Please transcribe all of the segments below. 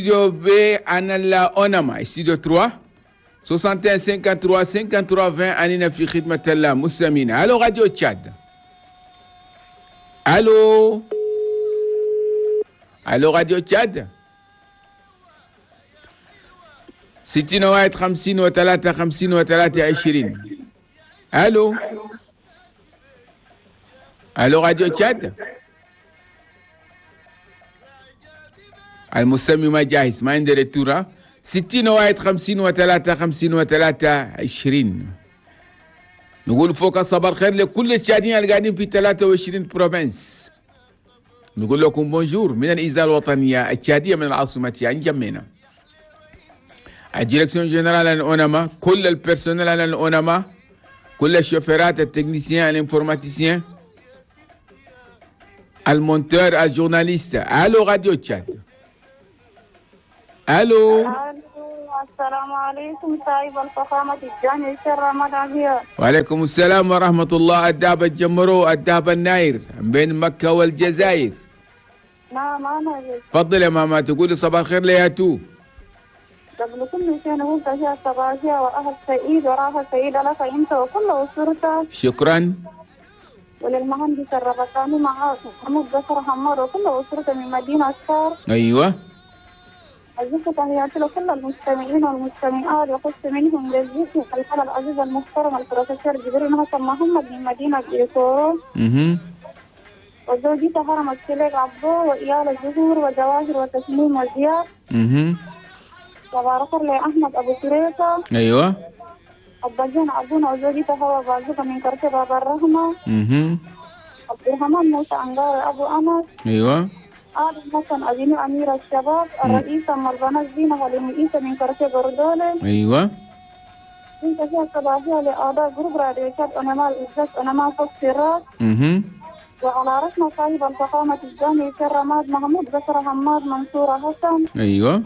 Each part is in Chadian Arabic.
Studio B أنا أونما استوديو 3 61 53 53 20 أننا في خدمة المستمعين. ألو راديو تشاد. ألو ألو راديو تشاد. 61 53 53 20. ألو ألو راديو تشاد. المستمع ما جاهز، ما عنده retour. 61 53 53 20. نقول فوق صباح الخير لكل التشاديين اللي قاعدين في 23 provinces. نقول لكم bonjour من الإذاعة الوطنية التشادية من العاصمة انجمينا. ال direction générale الأونما، كل ال personnel الأونما، كل الشوفيرات، ال techniciens، ال informaticiens، ال monteur، ال journaliste. ألو راديو تشاد. الو. السلام عليكم صاحب الفخامة الجاني رمضان. وعليكم السلام ورحمة الله. الدهب الجمرو، الدهب الناير بين مكة والجزائر. نعم أنا. تفضل يا ماما، تقولي صباح الخير لياتو. قبل كل شيء نقول تحية صباحية وأهل سعيد وراها سعيد لك أنت وكل أسرتك. شكرا. وللمهندس الربطاني معاك محمود بكر حمار وكل أسرته من مدينة الشار. أيوه. أزكى تحياتي لكل المستمعين والمستمعات، وخص منهم للزيك الحالة العزيز المحترم البروفيسور جبريل حسن محمد من مدينة إيكورو. وزوجته هرم السليق عبدو وإيال الزهور وجواهر وتسليم وزياد. وبارك لأحمد أبو سريكة. أيوه. الضجين عبدون وزوجته هو بازوكا من كركبة باب الرحمة. عبد الرحمن موسى أنغار أبو أنس. أيوه. آدم حسن أبيني أمير الشباب. الرئيسة ملبنة زينة هلمئيسة من كركبة بردولة. أيوه. انت فيها صباحية لأعضاء جروب راديو تشاد أنما الإزاز أنما فوق سراج. وعلى رأسنا صاحب الفخامة الجامعي كرماد محمود بشر حماد منصورة حسن. أيوه.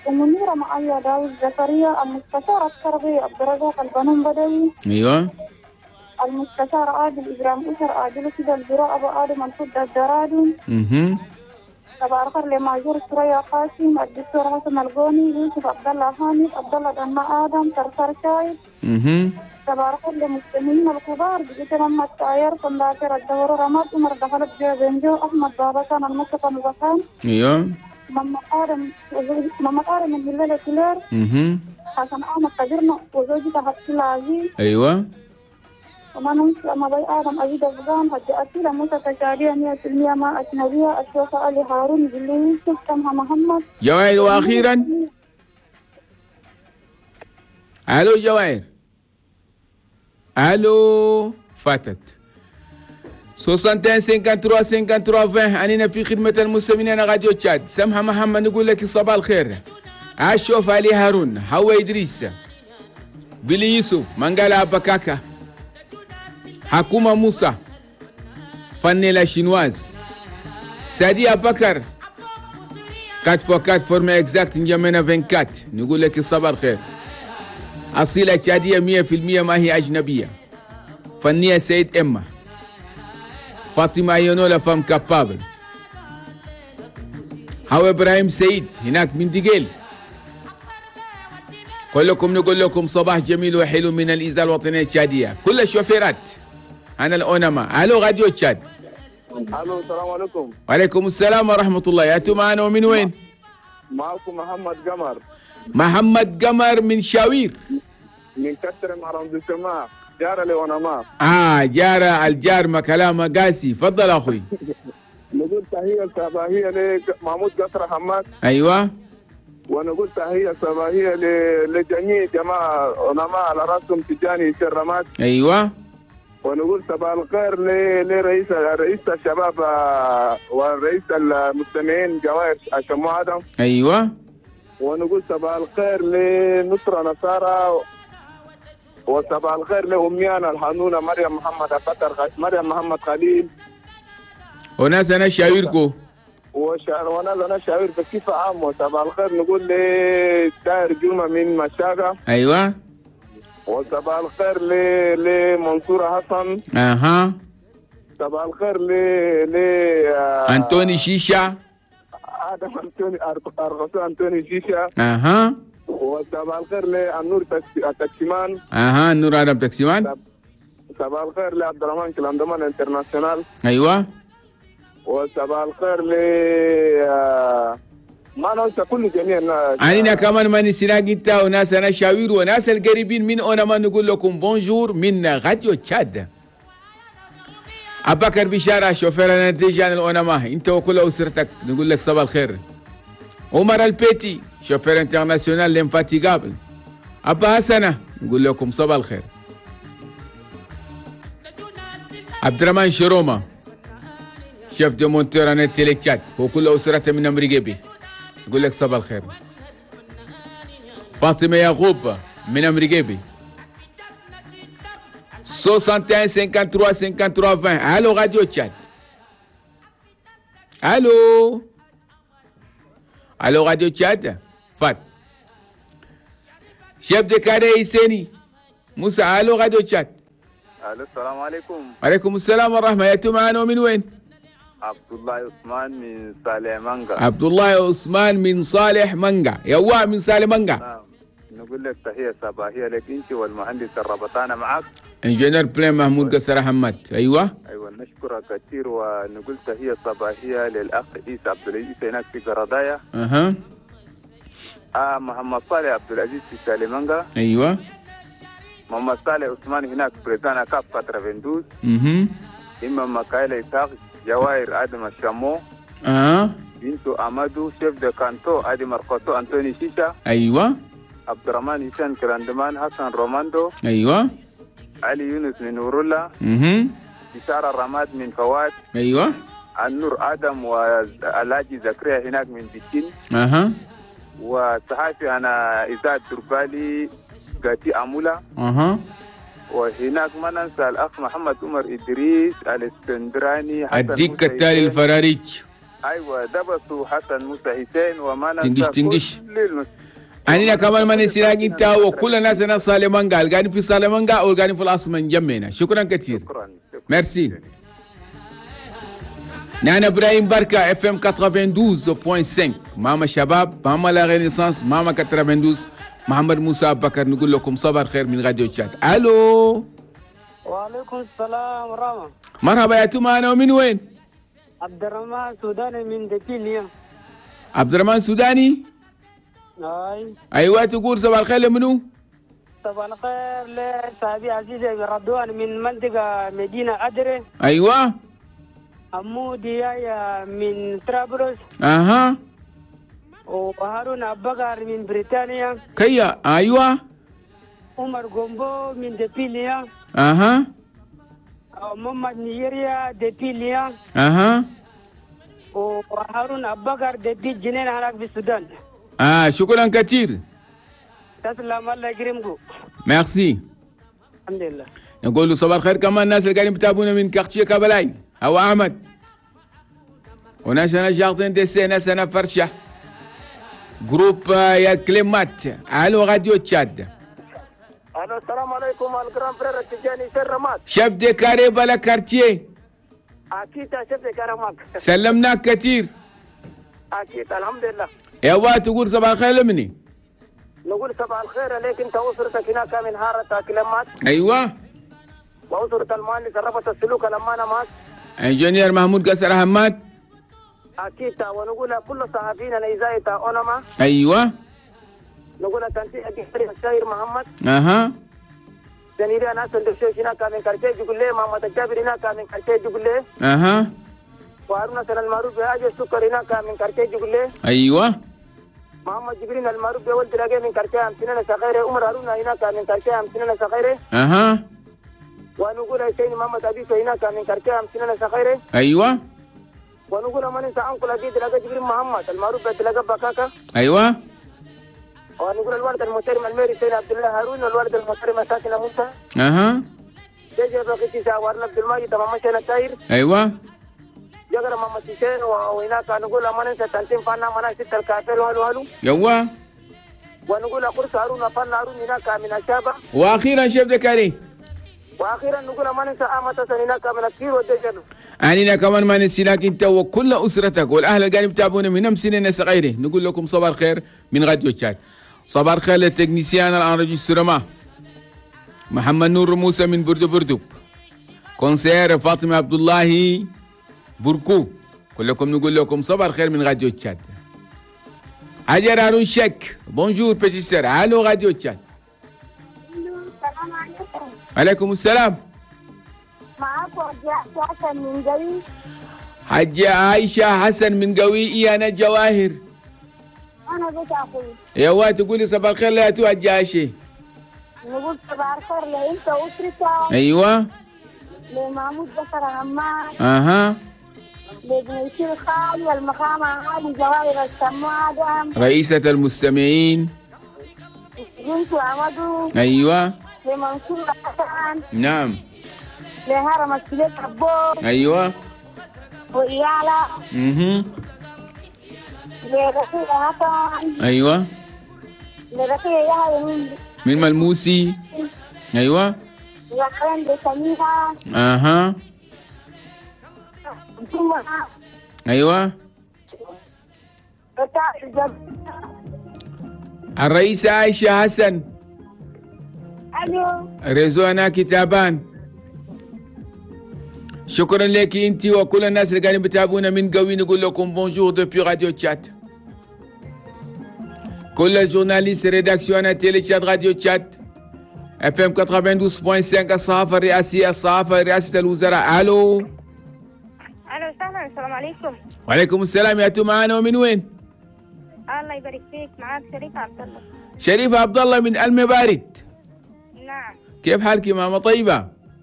ومنيرة معايا داوود زكريا. المستشار التربية عبد الرزاق البنون بدوي. أيوه. المستشار عادل إبراهيم أسر عادل كده البراء أبو آدم الفضة الدرادي. تبارك لماجور سريا قاسم، الدكتور حسن القوني، يوسف عبد الله حامد، عبد الله دماء آدم، ترسر شايب. تبارك للمستمعين الكبار بجيت محمد تاير، كنداكر الدور رماد، عمر دخلت جو بنجو، أحمد بابا كان المصطفى مزخان. أيوه. ماما آدم من هلال كلير. حسن أحمد قدرنا وزوجته حفص العزيز. أيوه. وما ننسى ما بي آدم أزيد أفغان حتى أسيلة موسى تشارية 100% ما أجنبية الشيخ علي هارون بلي يوسف سمها محمد جواهر. وأخيرا ألو جواهر. ألو فاتت. 61 53 53 20 أننا في خدمة المستمعين راديو تشاد. سمها محمد نقول لك صباح الخير. أشوف علي هارون، هو إدريس، بلي يوسف، منقالة أبكاكا، حكومة موسى، فنيلا شينواز، سادي أبكر، 4x4 forme exacte نجمنا 24. نقول لك صباح الخير. أصيلة تشادية 100% ما هي أجنبية. فنية سيد إما، فاطمة يونولا femme capable، هو إبراهيم سيد هناك من دقيل. كلكم نقول لكم صباح جميل وحلو من الإذاعة الوطنية التشادية. كل الشوفيرات أنا الأونما. ألو راديو تشاد. ألو السلام عليكم. وعليكم السلام ورحمة الله. يا أنتم معنا ومن وين؟ معكم محمد قمر. محمد قمر من شاوير. من كتر مع السماء جارة لأونما. جارة الجار ما كلامه قاسي. فضل أخوي. نقول تحية صباحية لمحمود قصر حماد. أيوة. ونقول تحية صباحية لجميع جماعة أونما على رأسهم تجاني الرماد. أيوة. ونقول صباح الخير لرئيس رئيس الشباب ورئيس المستمعين جواهر شمو آدم. أيوة. ونقول صباح الخير لنصرة نصارى، وصباح الخير لأميانا الحنونة مريم محمد قطر، مريم محمد خليل. وناس أنا شاويركو. وناس أنا شاوير بكيف عام. وصباح الخير نقول لداير جمعة من مشاغة. أيوة. وصباح الخير لمنصور حسن. أها. صباح الخير ل أنتوني شيشة. ادم انتوني ارغسو انتوني شيشه. اها. وصباح الخير للنور تاكسيمان. اها، النور ادم تاكسيمان. صباح الخير لعبد الرحمن كلاندمان international. ايوه. وصباح الخير ل ما ننسى كل جميع الناس. علينا كمان ما نسيناك انت وناس انا شاوير وناس القريبين من اونما، نقول لكم bonjour من راديو تشاد. ابكر بشارة شوفير déjà الاونما، انت وكل اسرتك نقول لك صباح الخير. عمر البيتي chauffeur international l'infatigable. ابا حسنه نقول لكم صباح الخير. عبد الرحمن شروما chef de monteur انا تيلي تشاد وكل اسرته من امريكا نقول لك صباح الخير. فاطمة يعقوب من امريكا. 61 53 53 20. الو راديو تشاد. الو الو راديو تشاد. فات chef de carré يسيني موسى. الو راديو تشاد. الو السلام عليكم. وعليكم السلام ورحمة. يا معانا ومن وين؟ عبد الله عثمان من صالح مانجا. عبد الله عثمان من صالح مانجا. يوا من صالح مانجا. نعم. نقول لك تحية صباحية لك انت والمهندس الربطانه معك ingénieur plein محمود قصر حماد. ايوه ايوه، نشكرك كثير ونقول تحية صباحية للاخ عيسى عبد العزيز هناك في قردايا. اها. محمد صالح عبد العزيز في سالمانجا. ايوه. محمد صالح عثمان هناك في بريطانيا كاب 92. اها. إمام مكايل إسحاق جواهر آدم الشامو. بنتو أمادو chef de canton آدم مرقصو أنتوني شيشا. أيوة. عبد الرحمن هشام كراندمان حسن روماندو. أيوة. علي يونس من ورولا. بشارة الرماد من فواد. أيوة. النور آدم واللاجي زكريا هناك من بكين. أها. وصحافي أنا إذاعة دربالي قاتي أمولا. أها. وهناك ما ننسى الأخ محمد عمر إدريس الاسكندراني. الديك التالي الفراريج. أيوة دبسوا حسن موسى حسين وما ننسى تنجش تنجش. أنا كمان ما نسيناك أنت وكل الناس أنا صالمانجا القاني في صالمانجا أو القاني في العاصمة جمينا. شكرا كثير. شكرا. ميرسي. نحن ابراهيم بركة FM 92.5 ماما شباب ماما la Renaissance ماما 92 محمد موسى بكر نقول لكم صباح الخير من راديو تشاد. الو. وعليكم السلام ورحمة. مرحبا يا توما، انا ومن وين؟ عبد الرحمن سوداني من دكيليا. عبد الرحمن سوداني؟ اي. ايوه تقول صباح الخير لمنو؟ صباح الخير لصاحبي عزيز رضوان من منطقة مدينة أدري. ايوه. أمو ديايا من طرابلس. اها. وهارون أبكر من بريطانيا. كيا. ايوه. عمر غومبو من دبيليا. اها. محمد نيجيريا دبيليا. اها. وهارون أبكر دبي جنين هناك في السودان. شكرا كثير. تسلم الله يكرمكم. ميرسي. الحمد لله. نقول له صباح الخير كمان الناس اللي قاعدين بتابعونا من quartier كابلاي هو احمد وناس انا jardin d'essai ناس انا فرشه groupe يا كلمات. الو راديو تشاد. الو السلام عليكم ال grand frère التجاني سر رماد chef de carré بلا quartier. اكيد chef de carré معك. سلمناك كثير. اكيد الحمد لله. يا تقول صباح الخير لمني؟ نقول صباح الخير عليك انت واسرتك هناك من هارة كلمات. ايوه. وأسرة المهندس ربط السلوك لما أنا معك ingénieur محمود قصر حماد. أكيد. ونقول كل صحفيين الإذاعة أونما. أيوة. نقول تنسيق الشاعر محمد. أها. سنيري أنا سندشوش هناك من كرتي يقول لي محمد الجابر هناك من كرتي يقول لي. أها. وهارون سن المعروف بأجي السكر هناك من كرتي يقول لي. أيوة. محمد جبرين المعروف بولد راجع من كرتي أمسنا صغيرة. عمر هارون هناك من كرتي أمسنا صغيرة. أها. ونقول حسين محمد أبي هناك من كرتي أمسنا صغيرة. أيوة. ونقول من انت انقل أبي تلاقى جبرين محمد المعروف بتلاقى بكاكا. أيوة. ونقول الوالد المحترم الميري سيد عبد الله هارون والوالد المحترم ساكن موسى. أها. جاي بقيتي ساورنا عبد الماجد تمام مشينا تاير. أيوة. جاكر محمد حسين وهناك نقول من انت تنتم فانا منا ست الكافر وهلو هلو. يوا. ونقول قرص هارون فانا هارون هناك من الشابة. وأخيرا chef de carré. واخيرا نقول ما ننسى امة سنيناك من الكير والدجل. أننا كمان ما نسيناك انت وكل اسرتك والاهل اللي قاعدين يتابعونا من سنين صغيره. نقول لكم صباح الخير من راديو تشاد. صباح الخير لل technicien l'enregistrement محمد نور موسى من بردو بردو، conseillère فاطمه عبد الله بركو، كلكم نقول لكم صباح الخير من راديو تشاد. هاجر هارون شك، bonjour petite sœur، allô راديو تشاد. السلام عليكم. عليكم السلام. معاكم حاجة حسن من قوي. حاجة عايشة حسن من قوي، يا أنا جواهر. أنا بيت أخوي. يا واد تقولي صباح الخير لا تو حاجة عايشة. نقول صباح الخير لأنت وأسرتك. أيوة. لمحمود بكر عمار. أها. لابن الخالي والمقام عالي جواهر السماء آدم. رئيسة المستمعين. بنت عمدو. أيوة. لمنصور حسن. نعم. لهرم السليك عبور. أيوة. وإيالة. لرفيق حسن. أيوة. لرفيق يحيى من ملموسي. أيوة. وكرم لسميحة. أها. أيوة. الرئيسة عائشة حسن. ألو. رزوانا كتابان. شكرا لك انت وكل الناس اللي قاعدين بتابعونا من قوي. نقول لكم bonjour depuis راديو تشات. كل ال journalistes rédaction تيلي تشات راديو تشات FM 92.5، الصحافه الرئاسيه، الصحافه رئاسه الوزراء. الو. الو سهلا، السلام عليكم. وعليكم السلام، يا تو معانا ومن وين؟ الله يبارك فيك، معاك شريفه عبد الله. شريفه عبد الله من المبارد. نعم. كيف حالك يا ماما؟ طيبه؟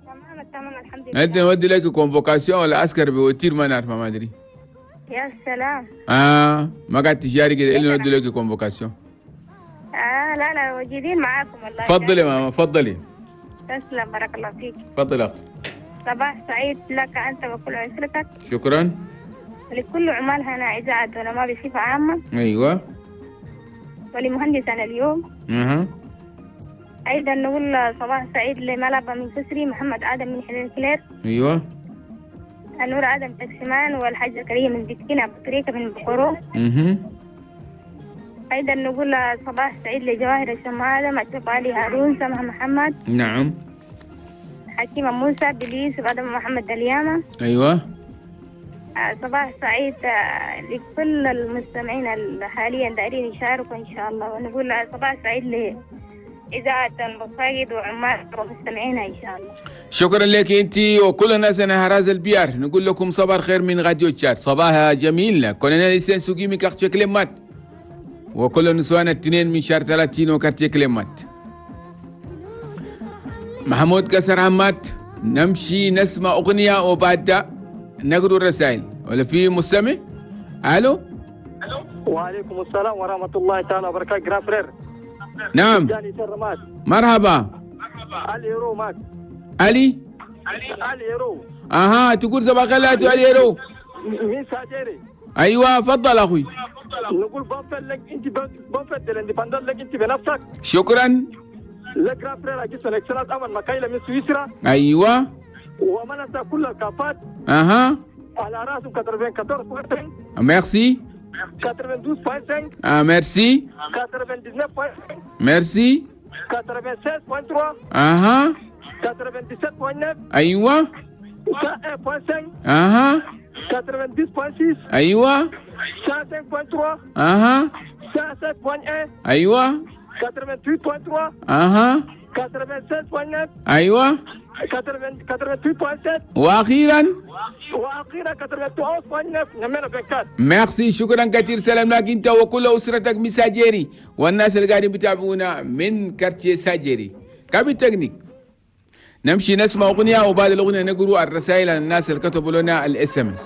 تمام تمام الحمد لله. انت نودي لك convocation ولا عسكر بوتير ما نعرف ما ادري. يا سلام. ما قاعد تجاري كده الا نودي لك convocation. لا لا موجودين معاكم والله. تفضلي يا ماما، تفضلي. تسلم، بارك الله فيك. تفضل اخي. صباح سعيد لك انت وكل اسرتك. شكرا. ولكل عمال هنا اذاعه ونما بصفه عامه. ايوه. ولمهندسنا اليوم. اها. ايضا نقول صباح سعيد لملابا من كسري، محمد ادم من حلين كلير. ايوه. النور ادم تكسمان، والحاج زكريا من بكين، ابو تريكه من بخورو. ايضا نقول صباح سعيد لجواهر الشمال ادم، اشرف علي هارون، سمح محمد. نعم. حكيمه موسى، بليس ادم محمد اليامه. ايوه. صباح سعيد لكل المستمعين حاليا دايرين يشاركوا ان شاء الله، ونقول صباح سعيد لإذاعة المصايد وعمال ومستمعينا إن شاء الله. شكرا لك أنت وكل الناس. أنا هراز البيار نقول لكم صباح الخير من راديو تشاد. صباح جميل. كولونيل إسين سوقي من quartier كلمات، وكل النسوان الاثنين من شهر 30 و quartier كلمات. محمود كسر عمات. نمشي نسمع أغنية وبعد نقرأ الرسائل. ولا في مستمع؟ ألو. وعليكم السلام ورحمة الله تعالى وبركاته. grand frère. نعم. مرحبا. علي رو ماك. علي؟ علي رو. اها، تقول صباح الخير علي رو. من ساجيري. ايوه تفضل اخوي. نقول bonne fête لك انت، bonne fête de l'indépendance لك انت بنفسك. شكرا. le grand frère اجي son excellence امل مكايلة من سويسرا. ايوه. وما ننسى كل الكافات. اها. على راسهم 94. ميرسي. 92.5. ميرسي. 99.5. ميرسي. 96.3. اها. 97.9. ايوه. 101.5. اها. 90.6. ايوه. 105.3. اها. 107.1. ايوه. 88.3. اها. 96.9. ايوه. 88.7. واخيرا 91.9 numéro 24. ميرسي، شكرا كثير. سلام لك انت وكل اسرتك من ساجيري والناس اللي قاعدين بتابعونا من quartier ساجيري. cabine technique. نمشي نسمع اغنيه وبعد الاغنيه نقرا الرسائل عن الناس اللي كتبوا لنا ال SMS.